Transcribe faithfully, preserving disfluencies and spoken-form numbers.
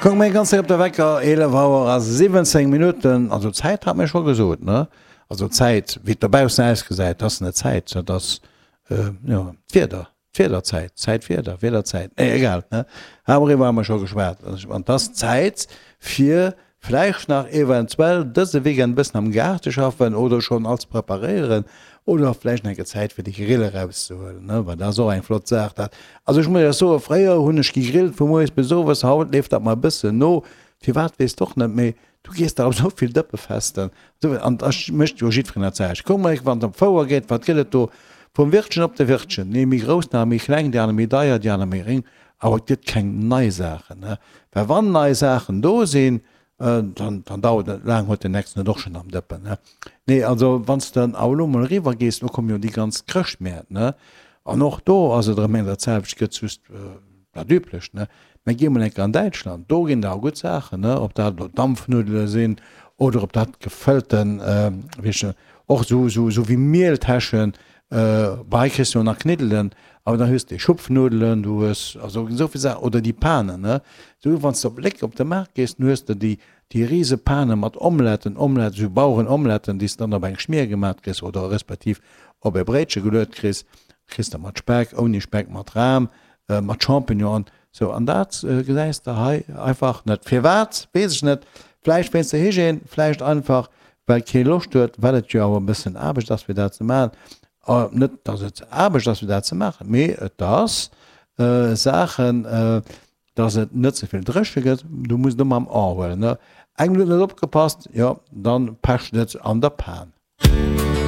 Kuck mol ganz séier op de Wecker, eelef Auer a siwwenzéng Minutten. Also Zäit hat mir scho gesot, ne? Also Zäit, wéi et dobaussen ausgesäit, dat ass net Zäit, dat ass, jo, d'Wieder, d'Wiederzäit, Zäitwieder, Wiederzäit, nee, egal, ne? Doriwwer hu mer scho geschwat. An 't ass Zäit fir vläicht nach eventuell dëse Weekend e bëssen am Gaart ze schaffen oder schonn alles preparéieren oder vläicht nach eng Kéier Zäit fir de Grill erauszehuelen, ne, well dat ass och eng flott Saach dat. Also ech muss Iech soen, fréier hunn ech gegrillt vu moies bis owes, haut leeft dat mer e bëssen no, firwat weess d'och net, mee du gees dach op esou vill Dëppefesten an da mécht jo jiddwereen dat selwecht. Kuck mol, wann et op d'Fouer geet, wat gëtt et do vum Wirtchen op de Wirtchen, déi méi grouss, déi aner méi kleng, déi aner méi deier, déi aner méi réng, awer et gëtt keng nei Saachen, ne, well wann nei Saachen do sinn, Dann, dann dauert et net laang, huet den nächsten et och schonn am Dëppen, ne? Nee, also wann s de dann awer elo mol eriwwer gees, elo komme jo déi ganz Chrëschtmäert, ne? An och do ass et erëm eng dat selwecht, gëtt just dat Üblecht, ne? Mä gi mol eng Kéier an Däitschland, do ginn der awer gutt Saachen, ne? Ob dat elo Dampfnuddele sinn oder ob dat gefëllten, wéi heescht och esou, esou, esou wéi Mieltäschen, Bei hei kriss du jo nach Kniddelen, awer dann hues de Schupfnudelen, du hues also esou vill Saachen, oder déi Panen, ne? Esou wann s de op Léck op de Maart gees, dann hues de déi déi rise Pane mat Omeletten, Omelette, esou Bauerenomeletten, déi s de dann op eng Schmier gemat kriss oder respektiv op e Bréitche geluet kriss, kriss de mat Speck, ouni Speck, mat Ram, mat Champignonen, sou. An dat gesäis de hei einfach net. Firwat, weess ech net, vläicht wéinst der Hygiène, vläicht einfach well kee Loscht huet, well et jo awer e bëssen Aarbecht ass fir dat ze maachen, net datt et Aarbecht ass fir dat ze maachen, mee et ass Saachen, datt et net ze vill dréche gëtt, du muss et ëmmer am A huelen, ne? Eng Minutt net opgepasst, jo dann pecht et an der Pan.